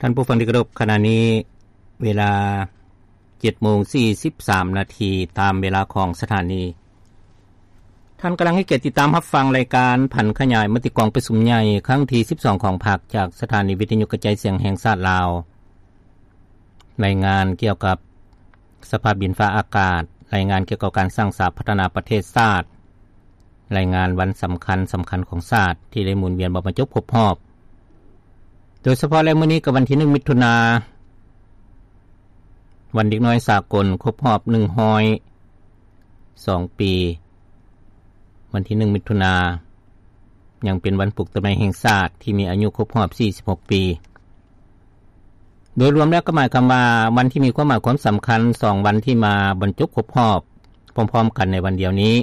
ທ່านผู้ฟังที่เคารพ ขณะนี้เวลาเจ็ดโมงสี่สิบสามนาที ตามเวลาของสถานี ท่านกำลังให้เกียรติติดตามรับฟังรายการผันขยายมติกองประชุมใหญ่ครั้งที่สิบสองของพรรค จากสถานีวิทยุกระจายเสียงแห่งชาติลาว รายงานเกี่ยวกับสภาพดินฟ้าอากาศ รายงานเกี่ยวกับการสร้างสาพัฒนาประเทศชาติ รายงานวันสำคัญสำคัญของชาติที่ได้หมุนเวียนมาบรรจบครบรอบ โดยเฉพาะแล้วมื้อนี้ก็วันที่หนึ่งมิถุนา วันเด็กน้อยสากลครบรอบหนึ่งร้อยสองปี วันที่หนึ่งมิถุนา ยังเป็นวันปลูกต้นไม้แห่งชาติที่มีอายุครบรอบสี่สิบหกปี โดยรวมแล้วก็หมายความว่าวันที่มีความหมายความสำคัญสองวันที่มาบรรจบครบรอบพร้อมๆ กันในวันเดียวนี้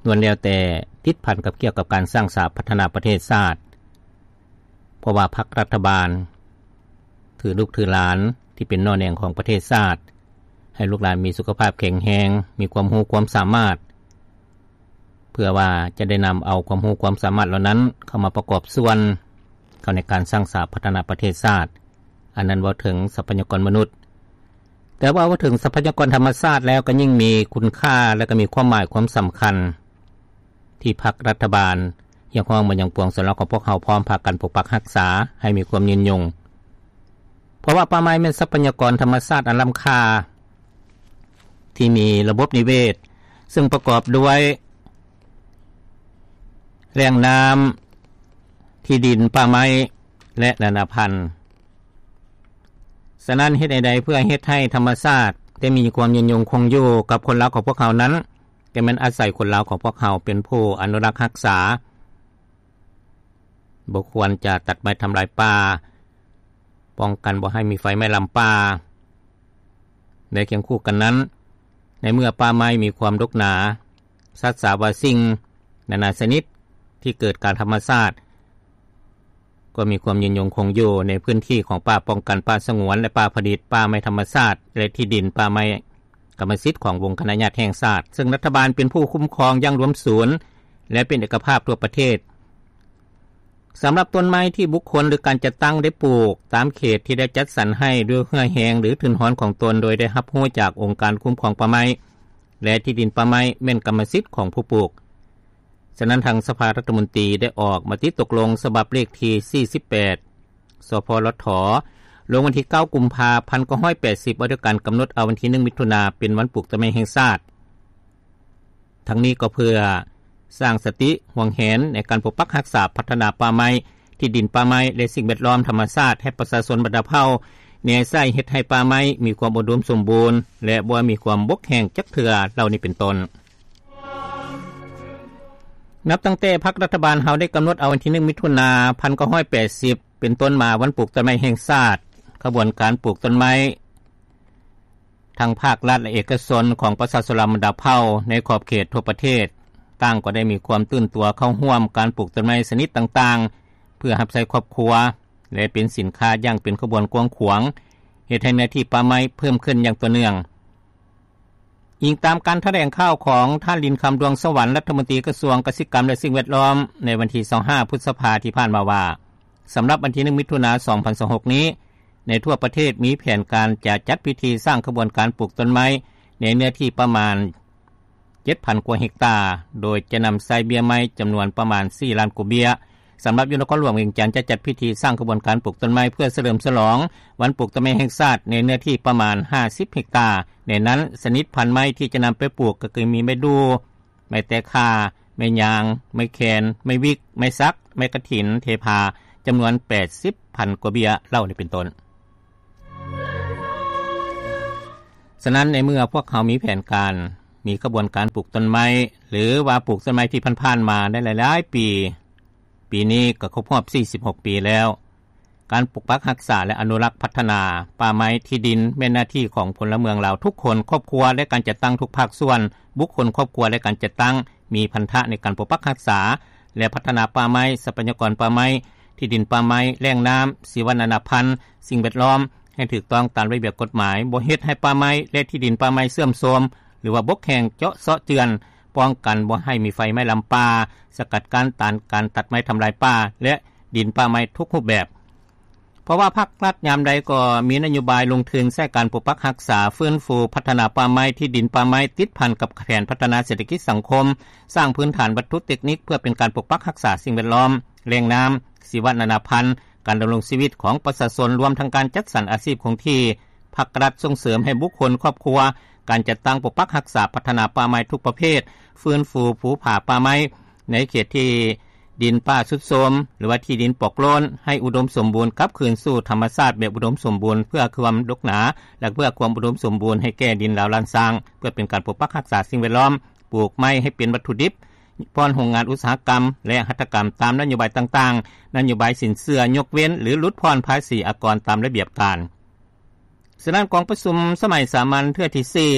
ล้วนแล้วแต่ติดพันกับเกี่ยวกับการสร้างสาพัฒนาประเทศชาติ เพราะว่าพรรครัฐบาล ถือลูกถือหลานที่เป็นหน่อแหน่งของประเทศชาติ ให้ลูกหลานมีสุขภาพแข็งแรง มีความรู้ความสามารถ เพื่อว่าจะได้นำเอาความรู้ความสามารถเหล่านั้นเข้ามาประกอบส่วนเข้าในการสร้างสาพัฒนาประเทศชาติ อันนั้นเว้าถึงทรัพยากรมนุษย์ แต่ว่าเว้าถึงทรัพยากรธรรมชาติแล้วก็ยิ่งมีคุณค่าและก็มีความหมายความสำคัญ ที่พรรครัฐบาลเรียกร้องมายังปวงชนลาวของพวกเฮาพร้อมพากันปกปักรักษาให้มีความยืนยง เพราะว่าป่าไม้แม่นทรัพยากรธรรมชาติอันล้ำค่า ที่มีระบบนิเวศ ซึ่งประกอบด้วยแหล่งน้ำ ที่ดิน ป่าไม้ และนานาพันธุ์ ฉะนั้นเฮ็ดแนวใดเพื่อเฮ็ดให้ธรรมชาติได้มีความยืนยงคงอยู่กับคนลาวของพวกเฮานั้น ก็แม่นอาศัยคนลาวของพวกเฮาเป็นผู้อนุรักษ์รักษา บ่ควรจะตัดไม้ทำลายป่า ป้องกันบ่ให้มีไฟไหม้ลามป่า และเคียงคู่กันนั้น ในเมื่อป่าไม้มีความดกหนา สัตว์สาบาสิ่งนานาชนิดที่เกิดการธรรมชาติ ก็มีความยืนยงคงอยู่ในพื้นที่ของป่าป้องกัน ป่าสงวน และป่าผลิต ป่าไม้ธรรมชาติ และที่ดินป่าไม้กรรมสิทธิ์ของวงคณะญาติแห่งชาติ ซึ่งรัฐบาลเป็นผู้คุ้มครองอย่างรวมศูนย์ และเป็นเอกภาพทั่วประเทศ สำหรับต้นไม้ที่บุคคลหรือการจัดตั้งได้ปลูกตามเขตที่ได้จัดสรรให้ด้วยเหื่อแฮงหรือทุนฮอนของตน โดยได้รับรู้จากองค์การคุ้มครองป่าไม้ และที่ดินป่าไม้แม่นกรรมสิทธิ์ของผู้ปลูก ฉะนั้นทางสภารัฐมนตรีได้ออกมติตกลงฉบับเลขที่สี่สิบแปด สพลท ลงวันที่เก้ากุมภาพันธ์เก้าร้อยแปดสิบ ว่าด้วยการกำหนดเอาวันที่หนึ่งมิถุนาเป็นวันปลูกต้นไม้แห่งชาติ ทั้งนี้ก็เพื่อสร้างสติห่วงแหนในการปกปักรักษาพัฒนาป่าไม้ ที่ดินป่าไม้ และสิ่งแวดล้อมธรรมชาติให้ประชาชนบรรดาเผ่าแนใช้เฮ็ดให้ป่าไม้มีความอุดมสมบูรณ์ และบ่มีความบกแห้งจักเทื่อเหล่านี้เป็นต้น นับตั้งแต่พรรครัฐบาลเฮาได้กำหนดเอาวันที่หนึ่งมิถุนาพันเก้าร้อยแปดสิบ เป็นต้นมาวันปลูกต้นไม้แห่งชาติ ขบวนการปลูกต้นไม้ ทั้งภาครัฐและเอกชนของประชาชนลาวบรรดาเผ่าในขอบเขตทั่วประเทศ ต่างก็ได้มีความตื่นตัวเข้าร่วมการปลูกต้นไม้ชนิดต่างๆ เพื่อรับใช้ครอบครัว และเป็นสินค้าอย่างเป็นขบวนกว้างขวาง เฮ็ดให้เนื้อที่ป่าไม้เพิ่มขึ้นอย่างต่อเนื่อง อิงตามการแถลงข่าวของท่าน หลิ้นคำ ดวงสวรรค์ รัฐมนตรีกระทรวงกสิกรรมและสิ่งแวดล้อม ในวันที่ยี่สิบห้าพฤษภาที่ผ่านมาว่า สำหรับวันที่หนึ่งมิถุนาสองพันยี่สิบหกนี้ ในทั่วประเทศมีแผนการจะจัดพิธีสร้างขบวนการปลูกต้นไม้ในเนื้อที่ประมาณเจ็ดพันกว่าเฮกตาร์ โดยจะนำใช้เบี้ยไม้จำนวนประมาณสี่ล้านกว่าเบี้ย สำหรับอยู่นครหลวงเวียงจันทน์จะจัดพิธีสร้างขบวนการปลูกต้นไม้เพื่อเฉลิมฉลองวันปลูกต้นไม้แห่งชาติในเนื้อที่ประมาณห้าสิบเฮกตาร์ ในนั้นชนิดพันธุ์ไม้ที่จะนำไปปลูกก็คือมีไม้ดู่ ไม้แตกข่า ไม้ยาง ไม้แคน ไม้วิก ไม้สัก ไม้กะถิน เทพา จำนวนแปดสิบพันกว่าเบี้ยเหล่านี้เป็นต้น ฉะนั้นในเมื่อพวกเขามีแผนการ มีขบวนการปลูกต้นไม้ หรือว่าปลูกต้นไม้ที่ผ่านๆมาได้หลายๆปี ปีนี้ก็ครบรอบสี่สิบหกปีแล้ว การปกปักรักษาและอนุรักษ์พัฒนาป่าไม้ที่ดินแม่นหน้าที่ของพลเมืองลาวทุกคน ครอบครัวและการจัดตั้งทุกภาคส่วน บุคคล ครอบครัวและการจัดตั้ง มีพันธะในการปกปักรักษา และพัฒนาป่าไม้ ทรัพยากรป่าไม้ ที่ดินป่าไม้ แหล่งน้ำ ชีวนานาพันธุ์ สิ่งแวดล้อม ให้ถูกต้องตามระเบียบกฎหมาย บ่เฮ็ดให้ป่าไม้และที่ดินป่าไม้เสื่อมโทรม หรือว่าบกแห้งเจาะเซาะเจือน ป้องกันบ่ให้มีไฟไหม้ลามป่า สกัดกั้นต้านการตัดไม้ทำลายป่า และดินป่าไม้ทุกรูปแบบ พ ພາະວ່າພາກລັດຍາມໃດກໍມີນະໂຍບາຍລົງທຶນໃສ່ການປົກປັກຮັກສາ, ຟື້ນຟູ, ພັດທະນາປ່າໄມ້, ທີ່ດິນປ່າໄມ້, ຕິດພັນກັບແຜນພັດທະນາເສດຖະກິດສັງຄົມ, ສ້າງພື້ນຖານວັດຖຸເຕັກນິກເພື່ອເປັນການປົກປັກຮັກສາສິ່ງແວດລ້ອມ, ແຫຼ່ງນ້ຳ, ຊີວະນານາພັນ, ການດຳລົງຊີວິດຂອງປະຊາຊົນ, ລວມທັງການຈັດສັນອາຊີບຄົງທີ່. ພາກລັດສົ່ງເສີມໃຫ້ບຸກຄົນ, ຄອບຄົວ, ການຈັດຕັ້ງປົກປັກຮັກສາ, ພັດທະນາປ່າໄມ້ທຸກປະເພດ, ຟື້ນຟູພູຜາປ່າໄມ້ ໃນເຂດທີ່ດິນປ່າຊຸດໂຊມ ຫຼືວ່າທີ່ດິນປອກໂລ້ນ ໃຫ້ອຸດົມສົມບູນກັບຄືນສູ່ທຳມະຊາດແບບອຸດົມສົມບູນ ເພື່ອຄວາມດົກໜາ ແລະ ເພື່ອຄວາມອຸດົມສົມບູນໃຫ້ແກ່ດິນລາວລ້ານຊ້າງ ເພື່ອເປັນການປົກປັກຮັກສາສິ່ງແວດລ້ອມ, ປູກໄມ້ໃຫ້ເປັນວັດຖຸດິບ ບ່ອນໂຮງງານອຸດສາຫະກຳ ແລະ ຫັດຖະກຳຕາມນະໂຍບາຍຕ່າງໆ, ນະໂຍບາຍສິນເຊື່ອຍົກເວັ້ນ ຫຼື ຫຼຸດຜ່ອນພາສີອາກອນຕາມລະບຽບການ. ສະນັ້ນ ກອງປະຊຸມສະໄໝສາມັນເທື່ອທີສີ່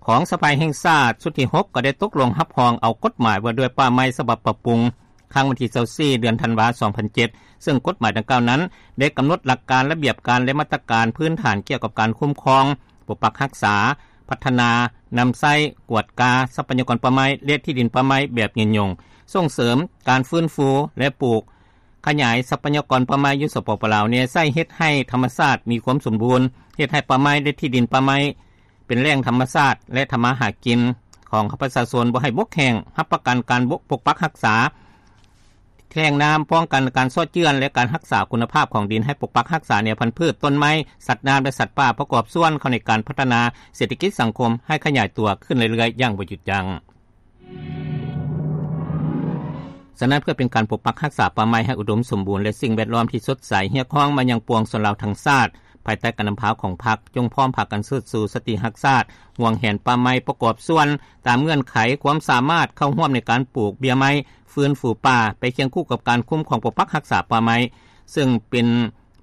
ຂອງສະພາແຫ່ງຊາດຊຸດທີຫົກ ກໍໄດ້ຕົກລົງຮັບຮອງເອົາກົດໝາຍວ່າດ້ວຍປ່າໄມ້ສະບັບປັບປຸງ ຄັ້ງວັນທີຊາວສີ່ ເດືອນທັນວາ ສອງພັນເຈັດ ເຊິ່ງກົດໝາຍດັ່ງກ່າວນັ້ນ ໄດ້ກຳນົດຫຼັກການ, ລະບຽບການ ແລະ ມາດຕະການພື້ນຖານກ່ຽວກັບການຄຸ້ມຄອງ, ປົກປັກຮັກສາ, ພັດທະນາ, ນຳໃຊ້, ກວດກາຊັບພະຍາກອນປ່າໄມ້ ແລະ ທີ່ດິນປ່າໄມ້ແບບຍືນຍົງ, ສົ່ງເສີມການຟື້ນຟູ ແລະ ປູກ ຂະຫຍາຍຊັບພະຍາກອນປ່າໄມ້ຢູ່ ສປປ ລາວ ແນໃຊ້ເຮັດໃຫ້ທຳມະຊາດມີຄວາມສົມບູນ, ເຮັດໃຫ້ປ່າໄມ້ ແລະ ທີ່ດິນປ່າໄມ້ເປັນແຫຼ່ງທຳມະຊາດ ແລະ ທຳມາຫາກິນຂອງປະຊາຊົນບໍ່ໃຫ້ບົກແຫ້ງ, ຮັບປະກັນການປົກປັກຮັກສາແຫຼ່ງນ້ຳ, ປ້ອງກັນການເຊາະເຈື່ອນ ແລະ ການຮັກສາຄຸນນະພາບຂອງດິນໃຫ້ປົກປັກຮັກສາແນວພັນພືດ, ຕົ້ນໄມ້, ສັດນ້ຳ ແລະ ສັດປ່າ ປະກອບສ່ວນເຂົ້າໃນການພັດທະນາເສດຖະກິດສັງຄົມໃຫ້ຂະຫຍາຍຕົວຂຶ້ນເລື້ອຍໆຢ່າງບໍ່ຢຸດຢັ້ງ. ສະນັ້ນ ເພື່ອເປັນການປົກປັກຮັກສາປ່າໄມ້ໃຫ້ອຸດົມສົມບູນ ແລະ ສິ່ງແວດລ້ອມທີ່ສົດໃສ, ຮຽກຮ້ອງມາຍັງປວງຊົນລາວທັງຊາດ, ພາຍໃຕ້ການນຳພາຂອງພັກ, ຈົ່ງພ້ອມພາກັນເຊີດຊູສະຕິຮັກຊາດ, ຫວງແຫນປ່າໄມ້, ປະກອບສ່ວນຕາມເງື່ອນໄຂຄວາມສາມາດເຂົ້າຮ່ວມໃນການປູກເບ້ຍໄມ້, ຟື້ນຟູປ່າ ໄປຄຽງຄູ່ກັບການຄຸ້ມຄອງປົກປັກຮັກສາປ່າໄມ້, ເຊິ່ງເປັນ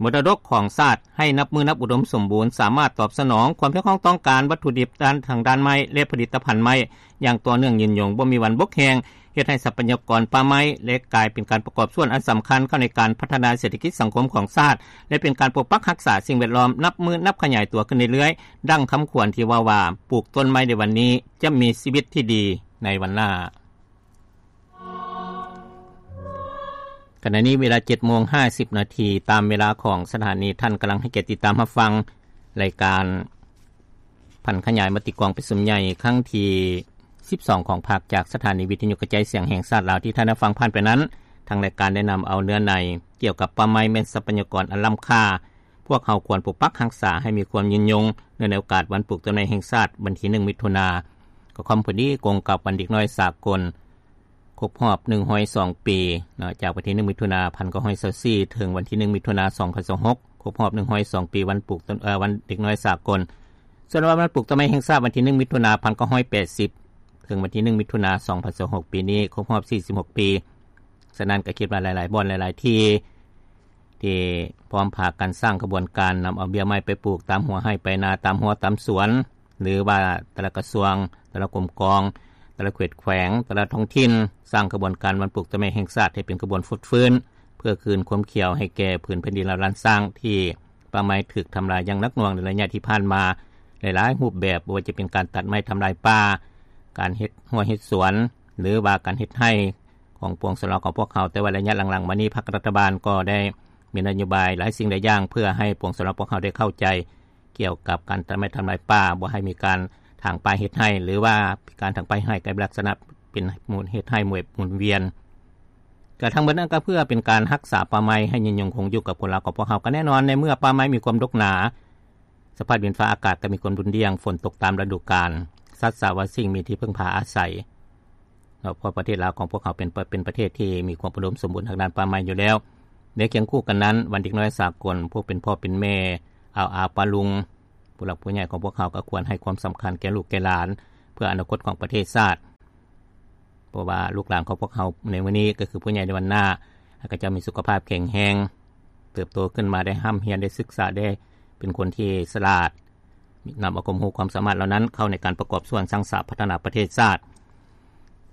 ມໍລະດົກຂອງຊາດ ໃຫ້ນັບມື້ນັບອຸດົມສົມບູນ, ສາມາດຕອບສະໜອງຄວາມຮຽກຮ້ອງຕ້ອງການວັດຖຸດິບດ້ານທາງດ້ານໄມ້ ແລະ ຜະລິດຕະພັນໄມ້ຢ່າງຕໍ່ເນື່ອງຍືນຍົງ, ບໍ່ມີວັນບົກແຫ້ງ, ເຮັດໃຫ້ຊັບພະຍາກອນປ່າໄມ້ ແລະ ກາຍເປັນການປະກອບສ່ວນອັນສຳຄັນເຂົ້າໃນການພັດທະນາເສດຖະກິດສັງຄົມຂອງຊາດ ແລະ ເປັນການປົກປັກຮັກສາສິ່ງແວດລ້ອມນັບມື້ນັບຂະຫຍາຍຕົວຂຶ້ນເລື້ອຍໆ, ດັ່ງຄຳຂວັນທີ່ເວົ້າວ່າ ປູກຕົ້ນໄມ້ໃນວັນນີ້ ຈະມີຊີວິດທີ່ດີໃນວັນໜ້າ. ຂະນະນີ້ເວລາເຈັດໂມງຫ້າສິບນາທີ ຕາມເວລາຂອງສະຖານີ. ທ່ານກຳລັງໃຫ້ກຽດຕິດຕາມຮັບຟັງລາຍການຜັນຂະຫຍາຍມະຕິກອງປະຊຸມໃຫຍ່ຄັ້ງທີສິບສອງຂອງພັກ ຈາກສະຖານີວິທະຍຸກະຈາຍສຽງແຫ່ງຊາດລາວ. ທີ່ທ່ານໄດ້ຟັງຜ່ານໄປນັ້ນ, ທາງລາຍການໄດ້ນຳເອົາເນື້ອໃນກ່ຽວກັບປ່າໄມ້ແມ່ນຊັບພະຍາກອນອັນລ້ຳຄ່າ, ພວກເຮົາຄວນປົກປັກຮັກສາໃຫ້ມີຄວາມຍືນຍົງ ເນື່ອງໃນໂອກາດວັນປູກຕົ້ນໄມ້ແຫ່ງຊາດ ວັນທີໜຶ່ງ ມິຖຸນາ, ກໍຄວາມພໍດີກົງກັບວັນເດັກນ້ອຍສາກົນ ຄົບຮອບໜຶ່ງຮ້ອຍສອງປີເນາະ, ຈາກວັນທີໜຶ່ງ ມິຖຸນາ ພັນເກົ້າຮ້ອຍຊາວສີ່ ເຖິງວັນທີໜຶ່ງ ມິຖຸນາ ສອງພັນຊາວຫົກ ຄົບຮອບໜຶ່ງຮ້ອຍສອງປີ ວັນປູກຕົ້ນ ເອີ ວັນເດັກນ້ອຍສາກົນ. ສ່ວນວັນ ວັນປູກຕົ້ນໄມ້ແຫ່ງຊາດ ວັນທີໜຶ່ງ ມິຖຸນາ ພັນເກົ້າຮ້ອຍແປດສິບ ເຖິງວັນທີໜຶ່ງ ມິຖຸນາ ສອງພັນຊາວຫົກ ປີນີ້ຄົບຮອບສີ່ສິບຫົກປີ. ສະນັ້ນກໍຄິດວ່າຫຼາຍໆບ່ອນ ຫຼາຍໆທີ່ ທີ່ພ້ອມພາກັນສ້າງຂະບວນການນຳເອົາເບ້ຍໄມ້ໄປປູກຕາມຫົວໄຮ່ໄປນາ, ຕາມຮົ້ວຕາມສວນ ຫຼືວ່າແຕ່ລະກະຊວງ, ແຕ່ລະກົມກອງ, ແຕ່ລະເຂດແຂວງ, ແຕ່ລະທ້ອງຖິ່ນ ສ້າງຂະບວນການວັນປູກຕົ້ນໄມ້ແຫ່ງຊາດໃຫ້ເປັນຂະບວນຟົດຟື້ນ ເພື່ອຄືນຄວາມຂຽວໃຫ້ແກ່ພື້ນແຜ່ນດິນລາວລ້ານຊ້າງ ທີ່ປ່າໄມ້ຖືກທຳລາຍຢ່າງໜັກໜ່ວງໃນໄລຍະທີ່ຜ່ານມາ ຫຼາຍໆຮູບແບບ, ບໍ່ວ່າຈະເປັນການຕັດໄມ້ທຳລາຍປ່າ, ການເຮັດຮົ້ວເຮັດສວນ ຫຼືວ່າການເຮັດໄຮ່ ຂອງປວງຊົນລາວຂອງພວກເຮົາ, ແຕ່ວ່າໄລຍະຫຼັງໆມານີ້ ພັກລັດຖະບານກໍໄດ້ມີນະໂຍບາຍຫຼາຍສິ່ງຫຼາຍຢ່າງ ເພື່ອໃຫ້ປວງຊົນລາວພວກເຮົາໄດ້ເຂົ້າໃຈກ່ຽວກັບການຕັດໄມ້ທຳລາຍປ່າ, ບໍ່ໃຫ້ມີການຖາງປ່າເຮັດໄຮ່ ຫຼືວ່າການຖາງປ່າເຮັດໄຮ່ກາຍເປັນລັກສະນະເປັນໝູນ ເຮັດໄຮ່ໝູນ ໝູນວຽນ. ກະທັງໝົດນັ້ນກໍເພື່ອເປັນການຮັກສາປ່າໄມ້ໃຫ້ຍືນຍົງຄົງຢູ່ກັບຄົນລາວຂອງພວກເຮົາ. ກໍແນ່ນອນ ໃນເມື່ອປ່າໄມ້ມີຄວາມດົກໜາ, ສະພາບດິນຟ້າອາກາດກໍມີຄວາມຮຸນແຮງ, ຝົນຕົກຕາມລະດູການ, ສັດສາວາສິ່ງມີທີ່ເພິ່ງພາອາໄສ. ເນາະ ເພາະປະເທດລາວຂອງພວກເຮົາເປັນປະ ເປັນປະເທດທີ່ມີຄວາມອຸດົມສົມບູນທາງດ້ານປ່າໄມ້ຢູ່ແລ້ວ. ໃນຄຽງຄູ່ກັນນັ້ນ, ວັນເດັກນ້ອຍສາກົນ, ຜູ້ເປັນພໍ່ເປັນແມ່, ອາວອາປ້າລຸງ, ຜູ້ຫຼັກຜູ້ໃຫຍ່ຂອງພວກເຮົາກໍຄວນໃຫ້ຄວາມສຳຄັນແກ່ລູກແກ່ຫຼານ ເພື່ອອະນາຄົດຂອງປະເທດຊາດ. ເພາະວ່າລູກຫຼານຂອງພວກເຮົາໃນມື້ນີ້ ກໍຄືຜູ້ໃຫຍ່ໃນວັນໜ້າ, ໃຫ້ເຂົາເຈົ້າມີສຸຂະພາບແຂງແຮງ, ເຕີບໂຕຂຶ້ນມາໄດ້ຮ່ຳຮຽນ, ໄດ້ສຶກສາ, ໄດ້ເປັນຄົນທີ່ສະຫຼາດ, ນຳເອົາຄວາມຮູ້ຄວາມສາມາດເຫຼົ່ານັ້ນເຂົ້າໃນການປະກອບສ່ວນສ້າງສາພັດທະນາປະເທດຊາດ.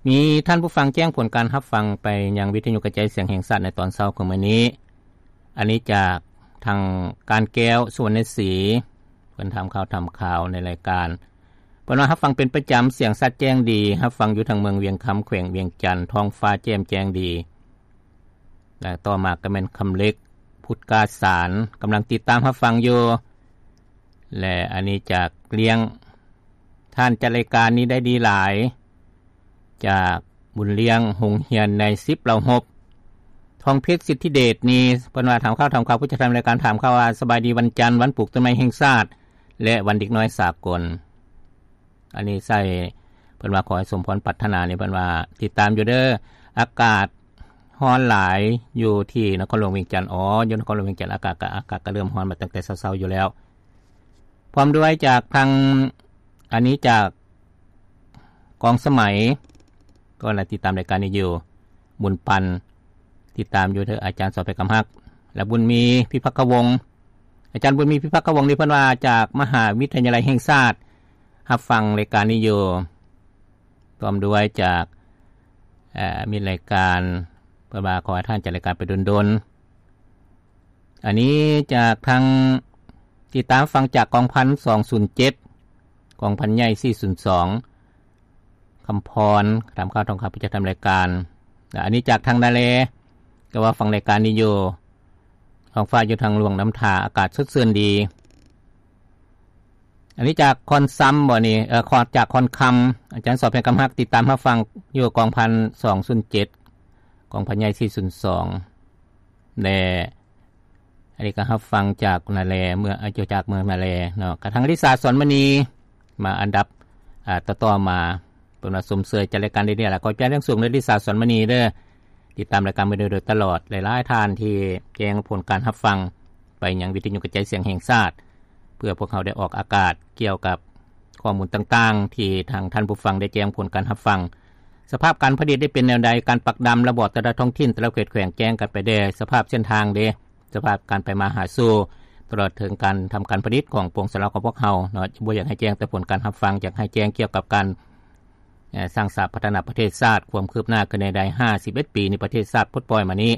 ມີທ່ານຜູ້ຟັງແຈ້ງຜົນການຮັບຟັງໄປຍັງວິທະຍຸກະຈາຍສຽງແຫ່ງຊາດໃນຕອນເຊົ້າຂອງມື້ນີ້. ອັນນີ້ຈາກທາງການແກ້ວ ສຸວັນນະສີ, ເພິ່ນຖາມຂ່າວ ຖາມຂ່າວໃນລາຍການ. ເພິ່ນວ່າ ຮັບຟັງເປັນປະຈຳ, ສຽງຊັດແຈ້ງດີ, ຮັບຟັງຢູ່ທາງເມືອງວຽງຄຳ ແຂວງວຽງຈັນ, ທ້ອງຟ້າແຈ່ມແຈ້ງດີ. ແລະ ຕໍ່ມາກໍແມ່ນຄຳເລັກ ພຸດກາສານ ກຳລັງຕິດຕາມຮັບຟັງຢູ່ ແລະ ອັນນີ້ຈາກລ້ຽງ ທ່ານຈັດລາຍການນີ້ໄດ້ດີຫຼາຍ ຈາກບຸນລ້ຽງໂຮງຮຽນໃນສິບເຫຼົ່າຮົບ. ທອງເພັດ ສິດທິເດດນີ້ ເພິ່ນວ່າຖາມຂ່າວ ຖາມຂ່າວ ຜູ້ຈັດທຳລາຍການຖາມຂ່າວວ່າ ສະບາຍດີວັນຈັນ ວັນປູກຕົ້ນໄມ້ແຫ່ງຊາດ ແລະ ວັນເດັກນ້ອຍສາກົນ. ອັນນີ້ໃສ່ ເພິ່ນວ່າຂໍໃຫ້ສົມພອນປາດຖະໜານີ້ ເພິ່ນວ່າຕິດຕາມຢູ່ເດີ ອາກາດຮ້ອນຫຼາຍຢູ່ທີ່ນະຄອນຫຼວງວຽງຈັນ. ອໍ ຢູ່ນະຄອນຫຼວງວຽງຈັນ ອາກາດກະ ອາກາດກະເລີ່ມຮ້ອນມາຕັ້ງແຕ່ເຊົ້າໆຢູ່ແລ້ວ. ພ້ອມດ້ວຍຈາກທາງ ອັນນີ້ຈາກກອງສະໄໝ ກໍໄດ້ຕິດຕາມລາຍການນີ້ຢູ່ ບຸນປັນ ຕິດຕາມຢູ່ເດີ ອາຈານສອນໄພຄຳຮັກ ແລະ ບຸນມີ ພິພັກຄະວົງ. ອາຈານບຸນມີ ພິພັກຄະວົງນີ້ ເພິ່ນວ່າຈາກມະຫາວິທະຍາໄລແຫ່ງຊາດ ຮັບຟັງລາຍການນີ້ຢູ່ ພ້ອມດ້ວຍຈາກ ເອີ ມິດລາຍການ ເພິ່ນວ່າຂໍໃຫ້ທ່ານຈັດລາຍການໄປດົນໆ. ອັນນີ້ຈາກທາງ ຕິດຕາມຟັງຈາກກອງພັນສອງສູນເຈັດ ກອງພັນໃຫຍ່ສີ່ສູນສອງ ຄຳພອນ ຖາມຂ່າວ ທອງຄຳ ຜູ້ຈັດທຳລາຍການ. ແລະ ອັນນີ້ຈາກທາງນາແລ ກໍວ່າຟັງລາຍການນີ້ຢູ່ ທ້ອງຟ້າຢູ່ທາງຫຼວງນ້ຳທາ ອາກາດສົດຊື່ນດີ. ອັນນີ້ຈາກຄອນຊຳບໍນີ້ ເອີ ຈາກຄອນຄຳ ອາຈານສອນໄພຄຳຮັກ ຕິດຕາມຮັບຟັງຢູ່ກອງພັນສອງສູນເຈັດ ກອງພັນໃຫຍ່ສີ່ສູນສອງ ແລະ ອັນນີ້ກໍຮັບຟັງຈາກນາແລ ເມືອງ ອາ ຈາກເມືອງນາແລເນາະ. ກະທາງລິສາ ສອນມະນີ ມາອັນດັບ ອາ ຕໍ່ໆມາ ເພິ່ນວ່າຊົມເຊີຍຈັດລາຍການດີໆ ລະ ຂໍໃຈແຮງສູງເດີ ລິສາ ສອນມະນີເດີ ຕິດຕາມລາຍການມາໂດຍຕະຫຼອດ. ຫຼາຍໆທ່ານທີ່ແຈ້ງຜົນການຮັບຟັງໄປຍັງວິທະຍຸກະຈາຍສຽງແຫ່ງຊາດ ເພື່ອພວກເຮົາໄດ້ອອກອາກາດກ່ຽວກັບຂໍ້ມູນຕ່າງໆ ທີ່ທາງທ່ານຜູ້ຟັງໄດ້ແຈ້ງຜົນການຮັບຟັງ. ສະພາບການຜະລິດໄດ້ເປັນແນວໃດ? ການປັກດຳລະບອກແຕ່ລະທ້ອງຖິ່ນ ແຕ່ລະເຂດແຂວງ ແຈ້ງກັນໄປແດ່. ສະພາບເສັ້ນທາງເດ? ສະພາບການໄປມາຫາສູ່ ຕະຫຼອດເຖິງການທຳການຜະລິດຂອງປວງຊາວລາວຂອງພວກເຮົາເນາະ. ບໍ່ຢາກໃຫ້ແຈ້ງແຕ່ຜົນການຮັບຟັງ, ຢາກໃຫ້ແຈ້ງກ່ຽວກັບການ ເອີ ສ້າງສາພັດທະນາປະເທດຊາດ ຄວາມຄືບໜ້າຂຶ້ນແນວໃດ ຫ້າສິບເອັດປີນີ້ ປະເທດຊາດປົດປ່ອຍມານີ້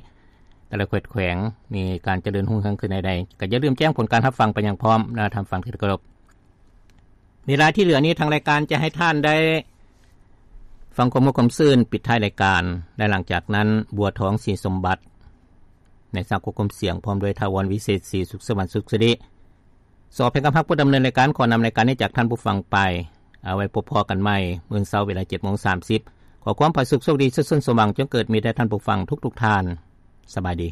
ແຕ່ລະເຂດແຂວງມີການຈະເລີນຮຸ່ງເຮືອງຂຶ້ນແນວໃດ. ກໍຢ່າລືມແຈ້ງຜົນການຮັບຟັງໄປຍັງພ້ອມນະ ທ່ານຜູ້ຟັງທີ່ເຄົາລົບ. ເວລາທີ່ເຫຼືອນີ້ ທາງລາຍການຈະໃຫ້ທ່ານໄດ້ຟັງຄວາມມ່ວນຄວາມຊື່ນປິດທ້າຍລາຍການ ແລະ ຫຼັງຈາກນັ້ນ ບົວທອງ ສີສົມບັດ ໃນສາກົນຄວາມສຽງ ພ້ອມດ້ວຍ ຖາວອນ ວິເສດສີ ສຸກສະຫວັນ ສຸກສິລິ. ສອນໄພຄຳຮັກ ຜູ້ດຳເນີນລາຍການ ຂໍນຳລາຍການນີ້ຈາກທ່ານຜູ້ຟັງໄປ. ເອົາໄວ້ພົບພໍ້ກັນໃໝ່ມື້ເຊົ້າເວລາເຈັດໂມງສາມສິບ. ຂໍຄວາມຜາສຸກໂຊກດີ ສຸກຊົນສົມຫວັງ ຈົ່ງເກີດມີແດ່ທ່ານຜູ້ຟັງທຸກໆທ່ານ. ສະບາຍດີ.